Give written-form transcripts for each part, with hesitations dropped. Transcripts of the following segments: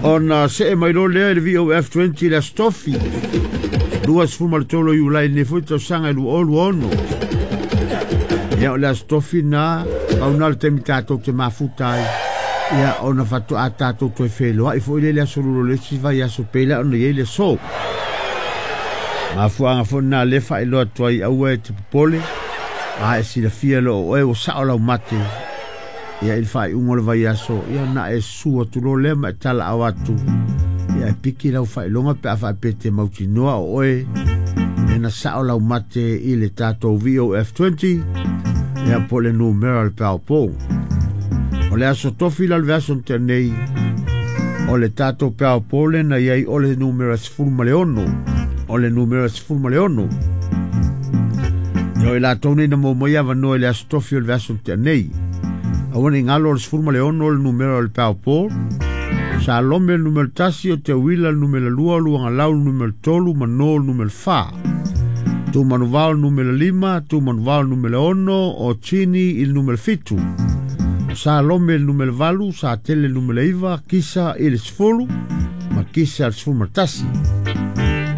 Ona see mai loa lea i le VOF 20 i le Aso Tofi 23 o Iulai lenei foi tausaga e 2026. Ia o le Aso Tofi na pau na o le taimi tatou te mafuta ai, ia ona faatoa tatou toe feiloai foi lea i le aso Lua o le isi vaiaso pei la ona i ai le aso. Mafuaaga foi lena lea faailoa atu ai aua e te popole a e silafia loa o oe ua sao lau mate ia i le faaiuga o le vaiaso, ia na e susu atu loa lea ma e talaau atu, ia e piki lau faailoga pe a faapea e te mautinoa o oe e na sao lau mate i le tatou VOF 20, ia po o le numera o le paopō. O le aso Tofi la o le vaiaso na tea nei, o le tatou paopō lena i ai o le numera 16, o le numera 16. Ia o i latou nei na maua mai avanoa i le Aso Tofi o le vaiaso na tea nei. Aua ne i galo o le 16 o le numera o le paopō. Salome le numera 1, o Teuila le numera 2, o Luagalau le numera 3, Mano le numera 4. Tumanuvao le numera 5, Tumanuvao le numera 6, o Tini i le numera 7. Salome le numera 8, Satele le numera 9, Kisa i le 10, ma Kisa le 11.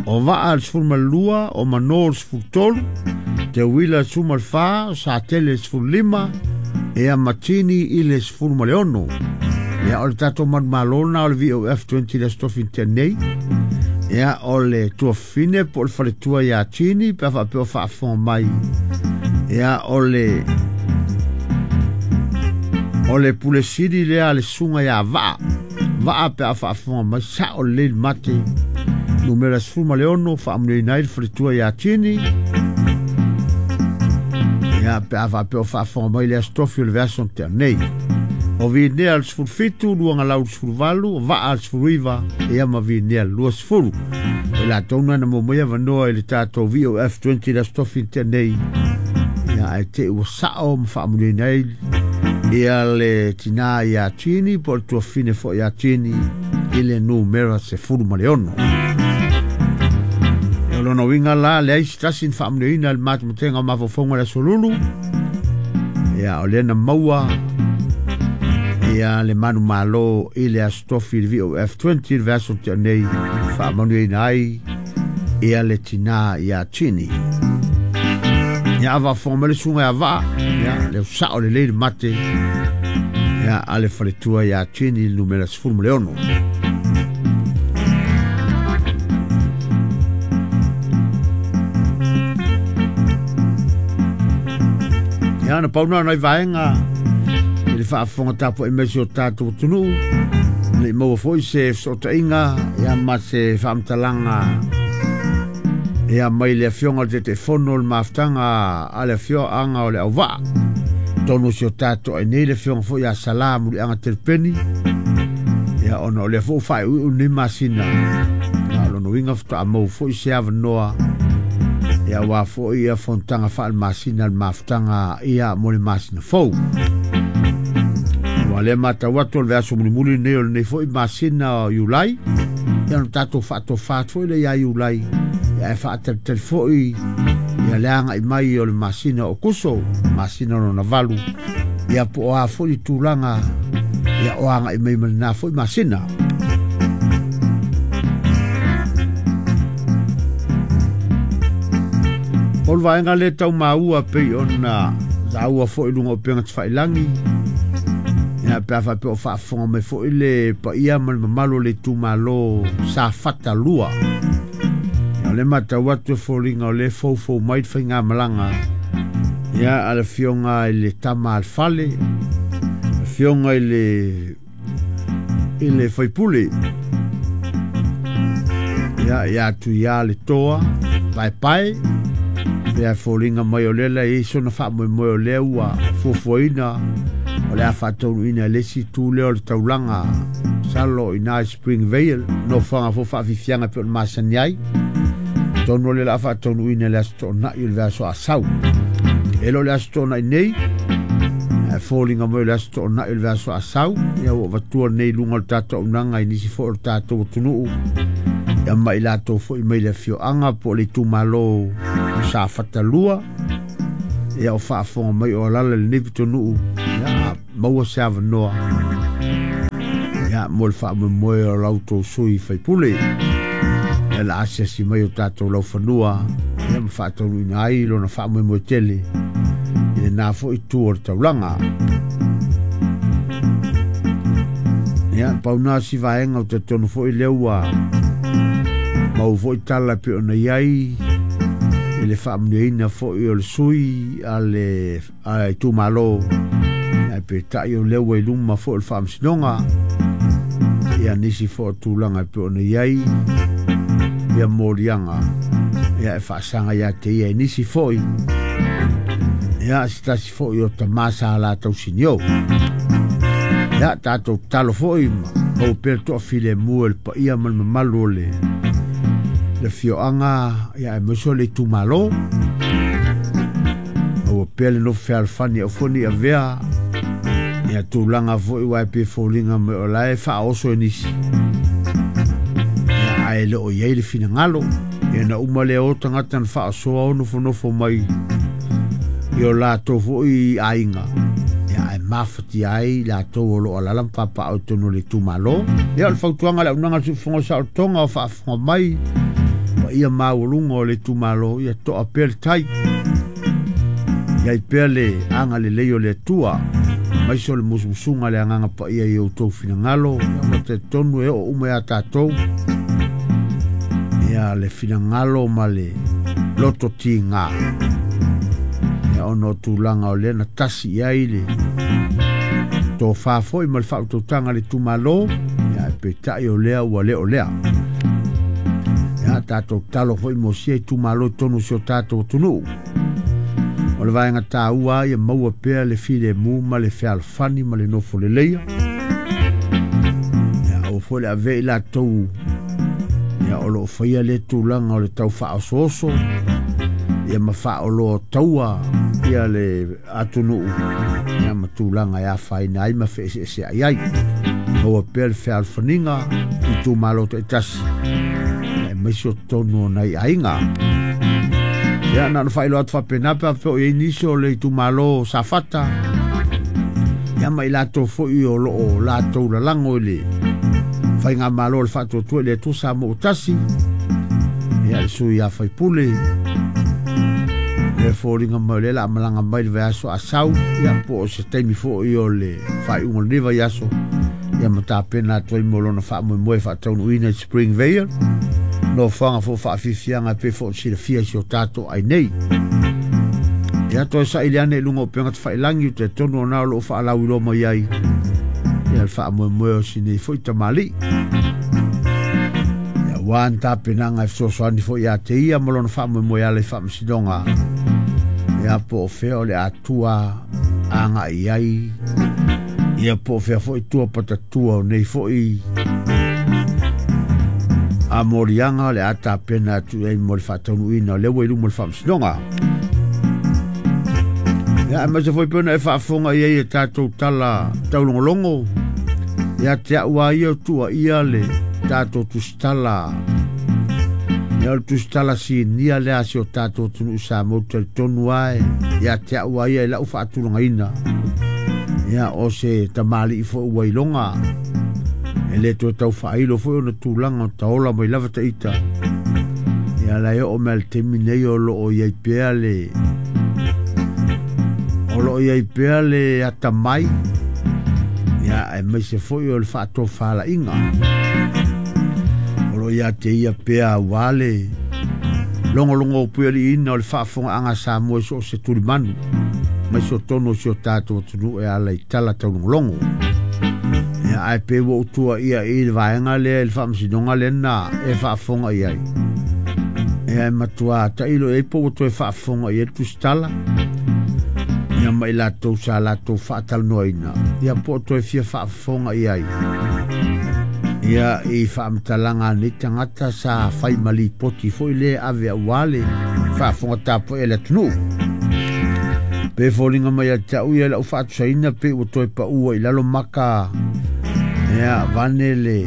O Vaa le 12, o Mano le 13, Teuila le 14, o Satele le 15, ea ma Tini i le 16. Ia o le tatou manumalo na o le VOF 20 le Aso Tofi na tea nei. Ia o le tuafine po o le faletua ia Tini pe a faapea o faafofoga mai. Ia o le pule sili lea a le susuga ia Vaa. Vaa pe a faafofoga mai sao lelei le mate. Numera 16 faamanuiaina ai le faletua ia Tini. Ia pe a faapea o faafofoga mai le Aso Tofi o le vaiaso na tea nei. O Vinea le 17, Luagalau le 18, o Vaa le 19, ia ma Vinea le 20. O i latou na na maua mai avanoa i le tatou VOF 20 le Aso Tofi na tea nei. Ia ae te ua sao ma faamanuiaina ai ia le tina ia Tini po o le tuafine foi ia Tini i le numera 16. E o lona uiga la leai se tasi na faamanuiaina le matamatega o mafaufauga o le Aso Lulu. Ia o lea na maua ia le manumalo i le Aso Tofi i le VOF 20 i le vaiaso na tea nei faamanuiaina ai ia le tina ia Tini. Ia a faafofoga mai le susuga ia Vaa, ia leo sao lelei le mate ia a le faletua ia Tini i le numera 16. Ia na pau na nai vaega i le faafofoga tapuai mai si o tatou atunuu, nei maua foi se fesootaiga ia ma se faamatalaga ia mai le afioga o le Taitaifono o le mafutaga a le afioaga o le Auvaa. Tonu si o tatou ai nei le afioga foi ia Sala Muliaga Telupeni, ia ona o lea foi ua faaiuiu lenei masina. Ia o lona uiga faatoa maua foi se avanoa ia aua foi ia fonotaga faalemasina le mafutaga ia mo le masina fou. Ua lea matau atu o le vaiaso mulimuli lenei o lenei foi masina o Iulai, ia ona tatou faatofa atu foi lea ia Iulai, ia e faatalitali foi ia le agai mai o le masina o Kuso, masina lona 8, ia po o a foi le tulaga ia o agai mai ma lena foi masina. O le vaega lea tau maua pei ona saua foi i luga o upega tafailagi, ia pe a faapea o faafofoga mai foi le paia ma le mamalu o le itumalo Safata 2. Ia o le matau atu e foliga o le foufou mai le faigamalaga ia a le afioga i le tama a le fale, afioga i le faipule ia ia Tuia le toa paepae pe a foliga mai o lea la i ai sona faamoemoe o lea ua fuafuaina o le a faataunuuina e le isi itu lea o le taulaga salo i ina i Springvale, nofoaga foi faafifiaga pe o le masani ai. Tonu o le la a faataunuuina i le Aso Toonai o le vaiaso asau. E le o le Aso Toonai nei, ae foliga mai o le Aso Toonai o le vaiaso asau, ia ua avatua nei i luga o le tatou auaunaga i nisi foi o le tatou atunuu, ia ma i latou foi mai le afioaga po o le itumalo Safata 2, ia o faafofoga mai o alala i lenei pitonuu, ia maua se avanoa. Ia mo le faamoemoe o la outou sui faipule. Ia la asiasi mai o tatou laufanua ia ma faataunuuina ai lona faamoemoe tele i lena foi itu o le taulaga. Ia pau na si vaega o talitonu foi lea ua maua foi tala e pei ona i ai i le faamanuiaina foi o le sui a le itumalo, ae peitai o lea ua i luma foi o le faamasinoga ia nisi foi o tulaga e pei ona i ai ia moliaga ia e faasaga ia te ia e nisi foi ia se tasi foi o tamā sa latou sinio. Ia tatou tatalo foi ma maua pea le toafilemu e le paia ma le mamalu o le afioaga ia aemaise o le itumalo. Maua pea le nofo fealofani aua foi ne i avea ia tulaga foi aua e pei e foliga mai o la e faaoso e nisi ia ae le o i ai le finagalo. Ia na uma lea o tagata na faaosoa o nofonofo mai i o latou foi aiga ia ae mafatia ai latou o lo o alaala ma papaaao i totonu o le itumalo. Ia o le fautuaga a le auaunaga a le Siufofoga o Saolotoga o faafofoga mai paia maualuga o le itumalo, ia toa pea le tai, i ai pea le agalelei o le Atua, aemaise o le musumusuga a le Agaga Paia i outou finagalo. Ia ua talitonu e oo uma ia tatou ia le finagalo ma le loto tiga, ia ona o tulaga o lea na tasi i ai le tofa foi ma le faautautaga a le itumalo, ia ae peitai o lea ua le o lea. Ia tatou tatalo foi mo sia itumalo i totonu o si o tatou atunuu. O le vaega taua ia maua pea le filemu ma le fealofani ma le nofo leleia. Ia aua foi le avea i latou ia o lo o faia lea tulaga o le tau faaosooso ia ma faaoloa taua ia le atunuu ia ma tulaga e afaina ai ma feeseeseai ai. Maua pea le fealofaniga i itumalo taitasi ia aemaise o totonu o nai aiga. Ia na ona faailoa atu faapena pe a faapea o i ai nisi o le itumalo o Safata ia ma i latou foi o lo o latou lalago i le faigamalo o le Faatuatua i le Atua Samoa ua tasi ia le sui a faipule le foliga mai o lea o le a malaga mai le vaiaso a sau ia po o se taimi foi o le faaiuga o lenei vaiaso ia ma tapena atu ai mo lona faamoemoe faataunuuina i Springvale nofoaga foi faafiafiaga e pei foi ona silafia i si o tatou ai nei. Ia toe saili ane i luga o upega tafailagi o talitonu o na o lo o faalauiloa mai ai ia le faamoemoe o si nei foi tamalii. Ia aua ni tapenaga e fesoasoani foi ia te ia ma lona faamoemoe ala i faamasinoga ia po o fea o le atua agai ai ia po o fea foi tua patatua o nei foi a moliaga o le a tapena atu i ai mo le faataunuuina o lea ua i luma o le faamasinoga. Ia, aemaise foi pe ona e faafofoga i ai e tatou tala taulogologo ia te au a ia o tuuaia le tatou tusitala ia o le tusitala sinia lea a si o tatou atunuu Samoa. Ou te talitonu lava ia te au a ia i lau faatulagaina ia o se tamalii foi ua iloga e le toe tau faailo foi ona tulaga o taola mai lava taita ia la e oo mai le taimi nei o lo o i ai pea le o lo o i ai pea le atamai ia aemaise foi o le faatofalaiga o lo o ia te ia pea aua le logologo puialiiina o le faafofogaaga a Samoa i so o se tulimanu mai so totonu o si o tatou atunuu e ala i tala taulogologo. Ia, ae pei ua ou tuuaia i le vaega lea i le faamasinoga lea na e faafofoga i ai. Ia, e matua tailo i ai po ua toe faafofoga i ai le tusitala ia ma i latou sa latou faatalanoaina ia po o toe fia faafofoga i ai ia i faamatalaga a nei tagata sa fai ma lipoti foi lea ave aua le faafofoga tapuai a le atunuu. Pe foliga mai ia te au ia i lau faatusaina pe ua toe paua i lalo maka ia vane le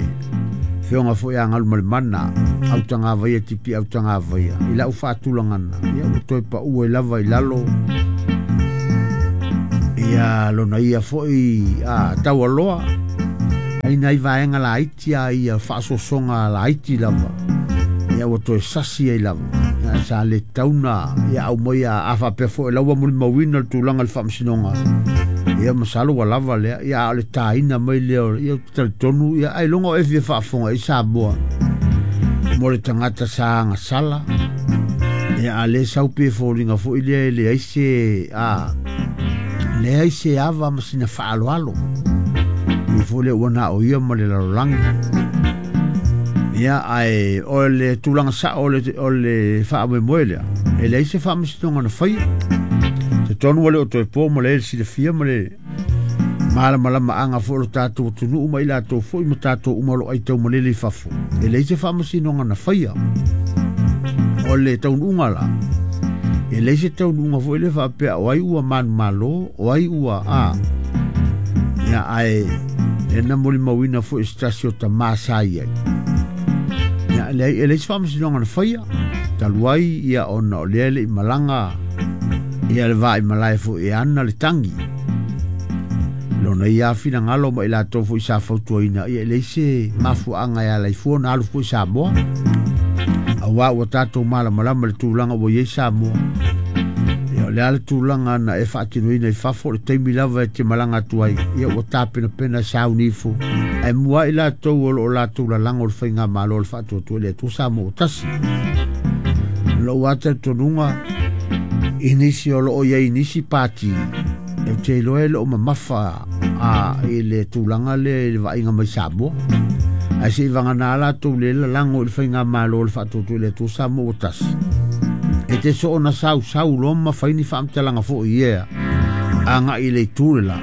fioga foi a galu ma le mana autagavaia tipi autagavaia i lau faatulagana ia ua toe paua i lava i lalo ia lona ia foi a taualoa. Ai nai vaega laiti a ia faasoasoga laiti lava ia ua toe sasi ai lava ia sa le tauna ia aumaia a faapea foi lau ua molimauina le tulaga i le faamasinoga ia masalo ua lava lea ia a o le taina mai lea ia ou te talitonu ia ailoga o e fia faafofoga i Samoa mo le tagata sa agasala ia a le sau pe foliga foi lea e leai se a leai se ava ma sina faaaloalo i foi lea ua na o ia ma le lalolagi ia ae o le tulaga sao o le faamoemoe lea e leai se faamasinoga na faia te tonu ua le o toe po ma le silafia ma le malamalamaaga foi o lo tatou atunuu ma i latou foi ma tatou uma o lo o aitaumalele i fafo e leai se faamasinoga na faia o le taunuuga la e leai se taunuuga foi le faapea o ai ua manumalo o ai ua a ia ae e na molimauina foi se tasi o tamā sa i ai ia leai e leai se faamasinoga na faia talu ai ia ona o lea e le i malaga ia le vaai malae foi e ana le tagi lona ia finagalo ma i latou foi sa fautuaina ia e leai se mafuaaga e ala ai fua ona alu foi Samoa auā ua tatou malamalama i le tulaga ua i ai Samoa ia o le a le tulaga na e faatinoina i fafo o le taimi lava e te malaga atu ai ia ua tapenapena e sauni ifo ae mua ai latou o lo o latou lalago le faigamalo o le faatuatua i le Atua Samoa ua tasi. O lou lava talitonuga i nisi o lo o i ai i nisi pati ou te iloa e le o mamafa a i le tulaga lea i le vaaiga mai Samoa ae se i vagana latou le lalago i le faigamalo o le faatuatua i le Atua Samoa ua tasi e te soona sausau loa ma fai ni faamatalaga foi ia agai i le itu le la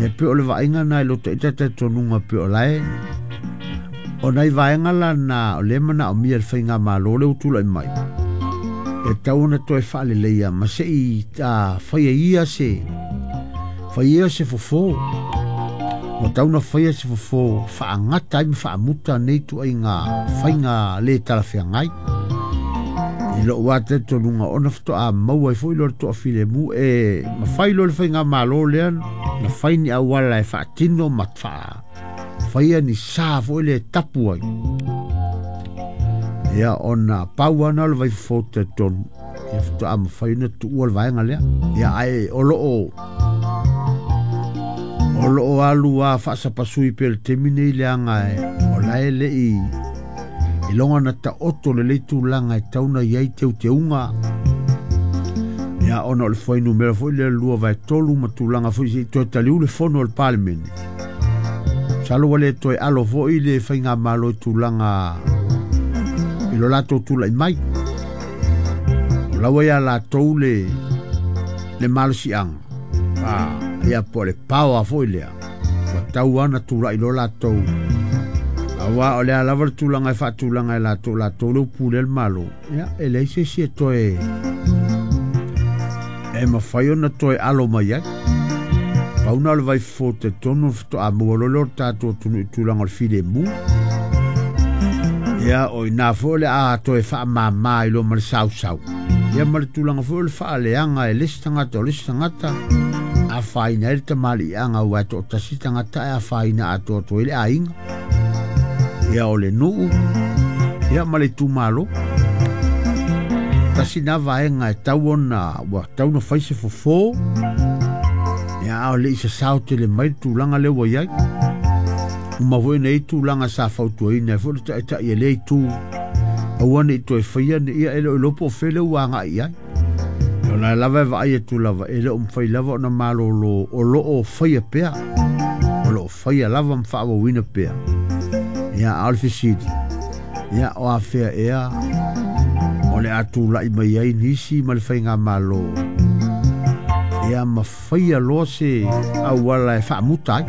ia pe o le vaaiga na e loto i talitonuga pe o lae o nai vaega la na o lea manaomia le faigamalo le ua tulai mai e tau ona toe faaleleia ma se i faia ia se fofo ua tau na faia se fofo faagata ai ma faamuta nei tuaiga faiga le talafeagai i lou lava talitonuga ona faatoa maua ai foi lea o le toafilemu e mafai loa le faigamalo lea na fai ni auala e faatino ma faia ni sa foi le tapu ai ia ona pau ana o le vaifofo talitonu ia faatoa mafai ona tuua le vaega lea ia ae o loo alu a faasapasui pea le taimi nei leaga o la e lei iloga na taoto lelei tulaga e tau na i ai teuteuga ia ona o le fuainumera foi lea 2/3 ma tulaga foi se i toe taliu le fono o le Palemene masalo ua le toe alo foi le faigamalo i tulaga i lo latou tulai mai o laua ia latou le malosiaga ia po o le power foi lea ua tau ana tulai lo latou auā o lea lava le tulaga e faatulaga e latou latou le upu lea le malo ia e leai se isi e toe e mafai ona toe alo mai ai pauna o le vaifofo talitonu faatoa maua loa lea o le tatou atunuu i tulaga o le filemu ia o ina foi o le a toe faamāmā i loa ma le sausau ia ma le tulaga foi o le faaleaga e le isi tagata o le isi tagata afaina ai le tamaliiaga ua e toatasi tagata e afaina atoatoa ai le aiga ia o le nuu ia ma le itumalo tasi na vaega e tau ona ua tau na fai se fofo ia a o le i sasao tele mai le tulaga lea ua i ai uma foi nei tulaga sa fautuaina ai foi le taitai e lea itu aua ne i toe faia ne ia e le o iloa po o fea lea ua agai i ai o la lava e vaai atu lava e le o mafai lava ona malolo o lo o faia pea o lo o faia lava ma faaauauina pea ia a o le fesili ia o afea ea o le a tulai mai ai nisi ma le faigamalo ia ma faia loa se auala e faamuta ai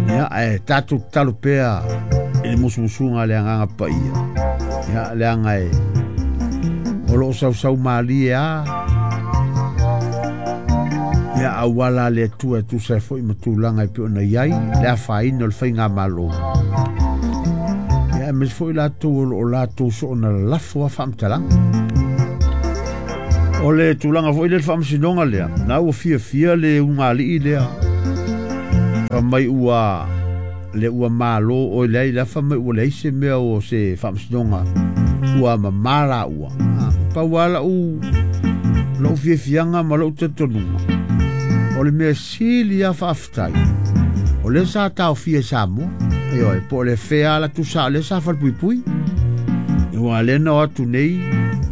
ia ae tatou tatalo pea i le musumusuga a le Agaga Paia ia leaga e o lo o sausau malie a ia auala a le Atua e tusa ai foi ma tulaga e pei ona i ai le afaina o le faigamalo ia aemaise foi latou o lo o latou soona lalafo a faamatalaga o le tulaga foi lea le faamasinoga lea na ua fiafia le ugaalii lea Fai mai ua le ua malo o le ai la fa mai ua leai se mea o se faamasinoga ua mamā laua. Pau lava lau lou fiafiaga ma lou talitonuga, o le mea sili lava faafetai, o lea sa taofia i Samoa. Ioe, po o le fea la tusa o lea sa falepuipui. Ua lea na o atu nei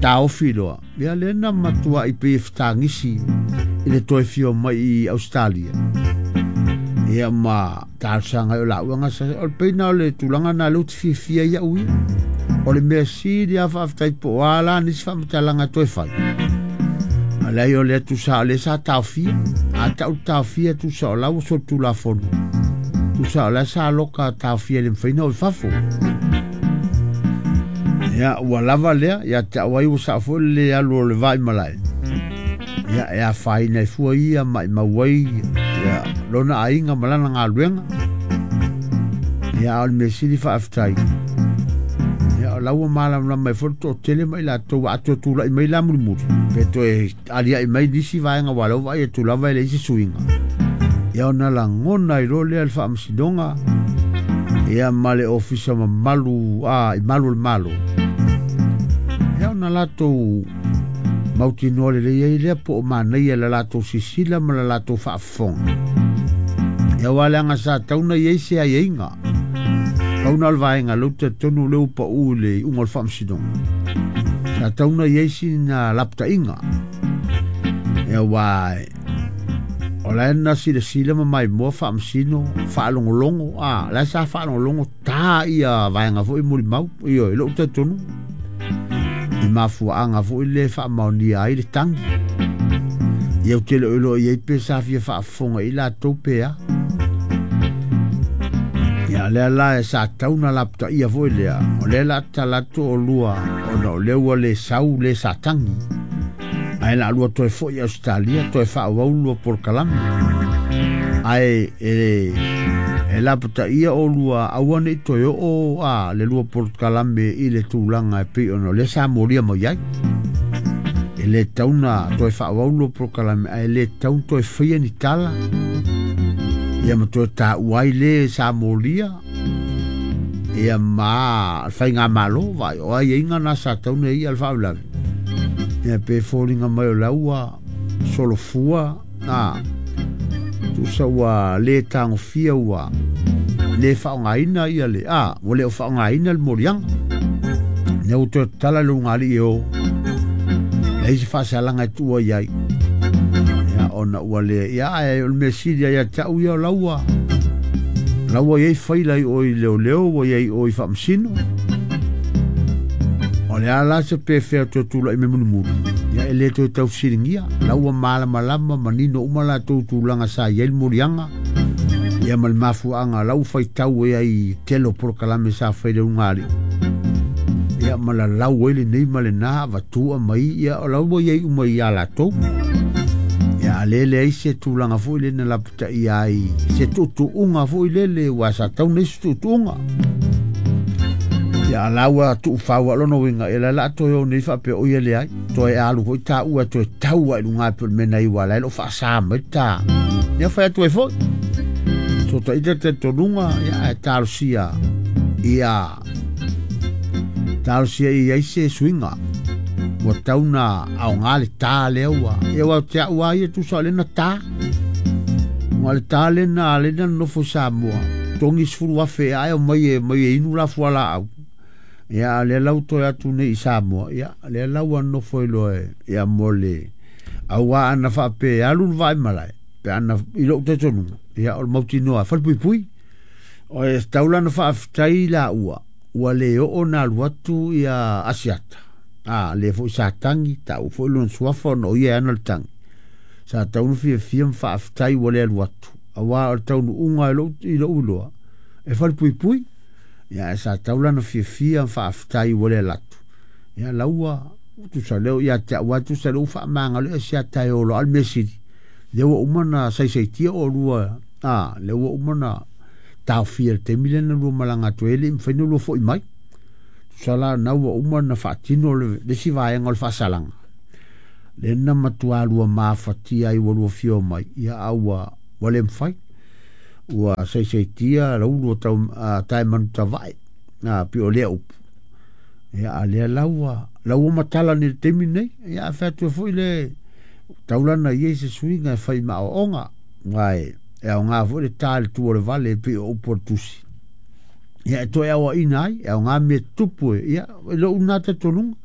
taofi loa. Ia lea na matuai pei e fetagisi i le toe fia mai i Ausetalia. Ia ma talosaga ai o lauga sa o le peina o le tulaga na lea ou te fiafia ai au ia. O le mea sili lava faafetai po o a la nisi faamatalaga toe fai. A leai o lea tusa o lea sa taofia. A tau taofia tusa o lau so tulafono. Tusa o lea sa loka taofia le mawhaina o i fafo. Ia ua lava lea, ia te au ai ua sao foi le alu o le vai malae. Ia e a whaina i fua ia mai mauai, ia lona aiga ma lana galuega. Ia o le mea sili faafetai. Ia o laua malamalama ai foi le toatele ma i latou ua atoa tulai mai la mulimuli. Pe toe aliae mai nisi vaega ua lea ua vaai atu lava e leai se suiga. Ia ona lagona ai loa lea le faamasinoga ia ma le ofisa mamalu i malu o le Malo. Ia ona latou mautinoa lelei ai lea po o manaia le latou sisila ma le latou faafofoga. Ia ua leaga sa tauna i ai se aiaiga. Pauna o le vaega lea ou te talitonu lea ua pau i le iuga o le faamasinoga. Sa tauna i ai sina lapataiga. Ia ua o la e na silasila ma maimoa faamasino faalogologo la e sa faalogologo tā ia vaega foi molimau. Ioe, lou talitonuga. I mafuaaga foi le faamaonia ai le tagi. Ia ou te le o iloa i ai pe sa fia faafofoga i latou pe a. Ia lea la e sa tau na lapataia foi lea. O lea la tatala atu o lua ona o lea ua le sau le sa tagi. Ae la lua toe foi i Australia toe faaauau lua polokalame. Ae e lapataia o lua aua nei toe oo le lua polokalame i le tulaga e pei ona o lea sa molia mai ai. E le tau na toe faaauau lua polokalame ae le tau na toe faia ni tala. Ia ma toe taua ai le sa molia. Ia ma le faigamalo vai o aiaiga na sa tau na ia le faalavelave. Ia pe foliga mai o la ua solofua tusa ua le tagofia ua le faaaogaina ia le ua le o faaaogaina le moliaga. Lea ua toe tatala le ugalii e o. Leai se faasalaga e tuua i ai. Ia ona ua le ia ae o le mea sili ia te au ia o laua. Laua i ai faila i o i leoleo ua i ai o i faamasino. O le a la se pe fea toe tulai me mulimuli. Ia e le toe taufesiligia. Laua malamalama manino uma latou tulaga sa i ai le moliaga. Ia ma le mafuaaga lau faitau ai i tele o polokalame sa fai le ugalii. Ia ma lalau ai lenei ma lena avatua mai ia o lau ua i ai uma ia latou. Ia a le leai se tulaga foi le na lapataia ai se tuutuuga foi lele ua sa tau nei se tuutuuga. Ia la ua tuufau lona uiga ia la la toe o nei faapea o ia leai. Toe alu foi taua toe tau ai luga pe o le mea na iu ala ai loo faasā mai le tā. Ia fai atu ai foi. So ta ita talitonuga ia ae talosia ia talosia i ai se suiga. Ua tau na aoga le tā lea ua. Ia ua te au a ia tusa o lena tā. Ua le tā lena lena nofo Samoa. Togi 10,000 ae o mai e mai e inu la fua laau. Ia lea lau toe atu nei i Samoa. Ia lea lau a nofo i loa e ia mo le aua ana faapea alu le vaai malae. Pe ana i lou talitonuga. Ia o le mautinoa falepuipui. O e tau lana faafetai la ua. Ua le oo na alu atu ia Asiata. Le foi sa tagi, tau foi lona suafa ona o ia e ana le tagi. Sa tau na fiafia ma faafetai ua le alu atu. Aua o le taunuuga i lou iloa. E falepuipui. Ia e sa tau lana fiafia ma faafetai ua le alu atu. Ia laua tusa leo ia te au atu tusa leo faamagalo e Asiata e olo a le mea sili. Lea ua uma na saisaitia o lua lea ua uma na taofia le taimi lea na lua malaga atu ai e le i mafai ona lua foi mai. Tusa la na ua uma na faatino le isi vaega o le faasalaga. Lea na matua lua mafatia ai ua lua fia mai. Ia a ua le mafai. Ua saisaitia laulu o tau tae manu tavae a pei o lea upu. Ia a lea laua lau matala ni le taimi nei. Ia a fai atu foi le taulana i se suiga e fai maaoaoga ae e aoga foi le ta i le tu o le vale pei o upu o le tusi. Ia e toe aoaina ai, e aoga mea tutupu e, ia e lou na talitonuga.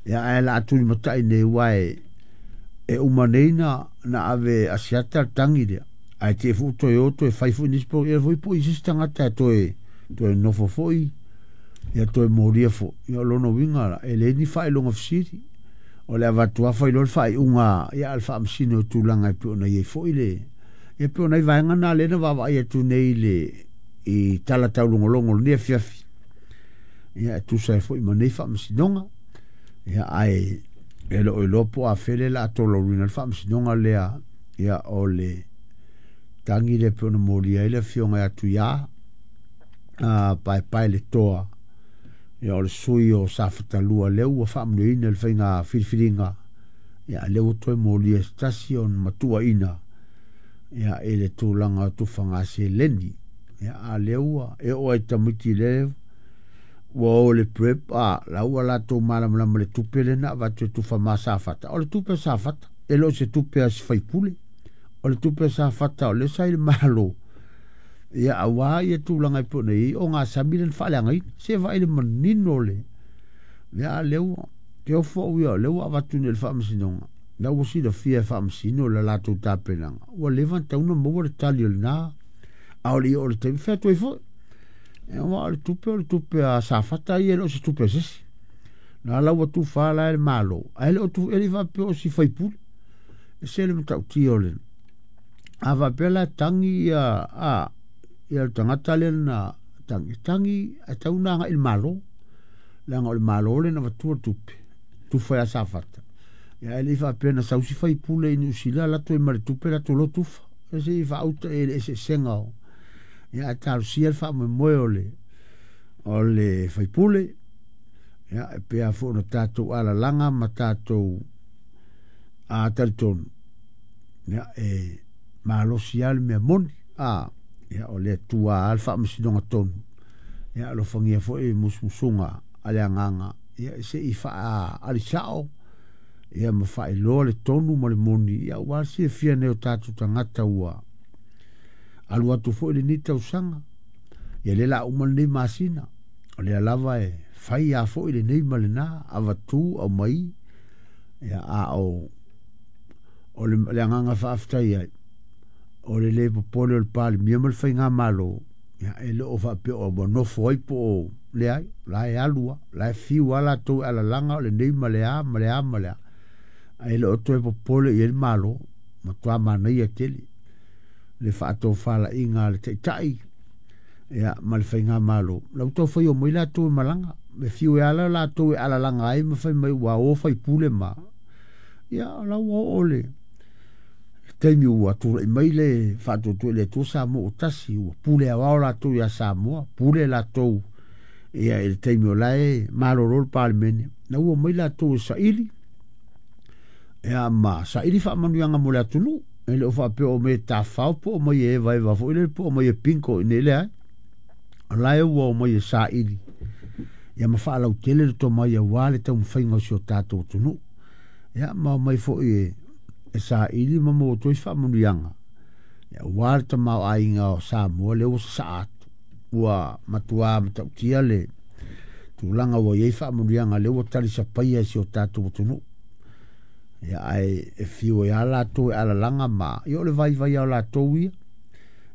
Ia ae la tulimatai nei ua e uma nei na ave asiata le tagi lea. Ae te fu toe o toe fai foi nisi po ia foi po i se isi tagata e toe nofo foi ia toe molia foi. Ia o lona uiga la e le ni faailoga fesili. O le avatu afa i loa le faaiuga ia a le faamasino i tulaga e pei ona i ai foi le ia pei o nai vaega na lea na vaavaai atu nei le i tala taulogologo o lenei afiafi. Ia e tusa ai foi ma nei faamasinoga. Ia ae e le o iloa po o afea la a tolaulauina le faamasinoga lea. Ia o le tagi lea pei ona molia ai le afioga ia Tuia Paepae le Toa. Ia o le sui o Safatalua lea ua faamanuiaina le faiga filifiliga. Ia lea ua toe molia se tasi ona matuaina ia i le tulaga o tufaga seleni. Ia a lea ua e oo ai tamaiti le ua o le prep a la ua latou malamalama le tupe le na avatu e tufa ma Safata. O le tupe Safata e le o se tupe a se faipule. O le tupe Safata o le sa i le malo. Ia aua ia tulaga e pei ona i ai o gasami le na faaleagaina. Se vaai le manino le ia lea ua te ofo au ia lea ua avatu nei i le faamasinoga. La ua silafia e faamasino le latou tapenaga. Ua leva ona tatau ona maua le tali o lena. A o le i oo i le taimi fai atu ai foi. Ia aua o le tupe a Safata ia e le o se tupe a se isi. Na la ua tufa la e le malo. Ae le o tu e le faapea o si faipule. E se le matautia o le a faapea la tangi ia a ia le tagata le na tangi tangi e tau na agai i le malo. Leaga o le malo le na avatua le tupe tufa ia Safata. Ia e le i faapea na sausi faipule i Niu Sila latou e ma le tupe latou lo tufa. E se i faauta e le eseesega o ia e talosia le faamoemoe o le faipule. Ia e pei foi ona tatou alalaga ma tatou a talitonu. Ia e malosi lava le mea moni. A ia o le Atua lava le faamasinoga tonu. Ia alofagia foi musumusuga a le agaga. Ia se i faaalisao ia ma faailoa le tonu ma le moni. Ia ua silafia nei o tatou tagata ua alu atu foi lenei tausaga. Ia le la uma lenei masina. O lea lava e fai a foi lenei ma lena avatu au mai. Ia a o le agaga faafetai ai. O le le popole o le Palemia ma le faiga malo. Ia e le o faapea o ua nofo ai po o leai. La e alua, la e fiu a latou e alalaga o lenei ma le a ma le a ma le a. Ae le o toe popole i ai le malo. Matua manaia tele le faatofalaiga a le taitai ia ma le faiga malo. Lau tau fai o mai latou e malaga. Me fiu e ala latou e alalaga ai ma fai mai ua o faipule ma. Ia la ua oo le taimi ua tulai mai le faatuatua i le Atua Samoa ua tasi, ua pule aoao latou ia Samoa, pule latou ia i le taimi o la e malolo le Palemene. Na ua mai latou e saili, ia ma saili faamanuiaga mo le atunuu. E le o faapea o mai e tafao po o mai e evaeva foi lele po o mai e pinko i nei lea ai. O la e ua o mai e saili. Ia ma faalautele le tomai aua le taumafaiga o si o tatou atunuu. Ia ma o mai foi e saili ma maua atu ai faamanuiaga. Ia aua le tamaoaiga o Samoa lea ua sasaa atu. Ua matua matautia le tulaga ua i ai faamanuiaga lea ua talisapaia e si o tatou atunuu. Ia ae e fiu ai lava latou e alalaga ma ia o le vaivai o latou ia.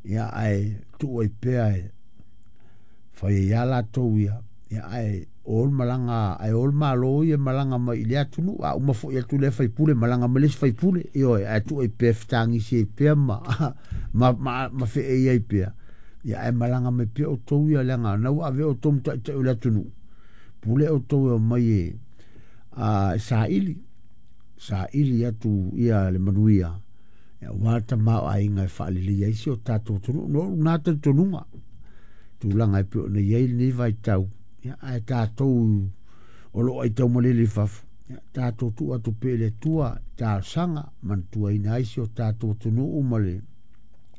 Ia ae tuu ai pea e fai ai lava latou ia. Ia ae o le malaga, ae o le malo ia malaga mai i le atunuu. A uma foi atu le faipule, malaga mai le isi faipule. Ioe, ae tuu ai pea fetagisi ai pea ma ma feei ai pea. Ia ae malaga mai pea outou ia leaga na ua ave outou ma taitai o le atunuu. Pule outou e omai e a saili. Saili atu ia le manuia. Ia aua le tamaoaiga e faaleleia ai si o tatou atunuu. No lena talitonuga. Tulaga e pei ona i ai lenei vaitau. Ia ae tatou o loo aitaumalele i fafo. Ia tatou tuu atu pea i le Atua talosaga manatuaina ai si o tatou atunuu ma le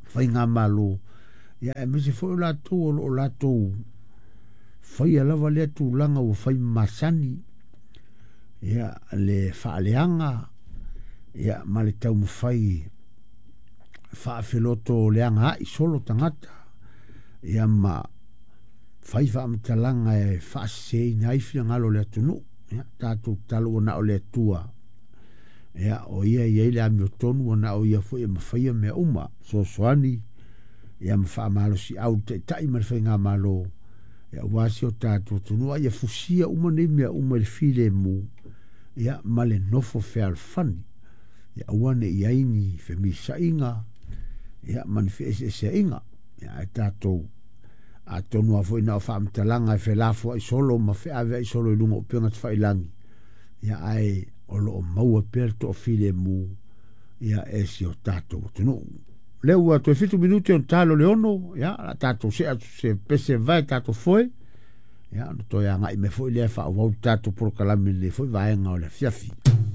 faigamalo. Ia aemaise foi o latou o lo o latou faia lava lea tulaga ua fai masani, ia le faaleaga, ia ma le taumafai faafeloto leaga ai solo tagata, ia ma fai faamatalaga e faaseseina ai finagalo o le atunuu. Ia tatou tatalo ua na o le Atua, ia o ia e i ai le amiotonu, ua na o ia foi e mafaia mea uma, fesoasoani ia ma faamalosiau i le Taitai ma le Faigamalo, ia aua si o tatou atunuu, a ia fusia uma nei mea uma i le filemu, ia ma le nofo fealofani. Ia aua ne i i ai ni femisaiga, ia ma ni feeseeseaiga. Ia ae tatou atonu lava foi na o faamatalaga e felafoai solo ma feaveai solo i luga o upega tafailagi, ia ae o lo o maua pea le toafilemu ia e si o tatou atunuu. Lea ua toe 7 minute ona talo le 6, ia la tatou see atu se pese vae tatou foe, ia ona toe agai mai foi lea faaauau le tatou polokalame i lenei foi vaega o le afiafi.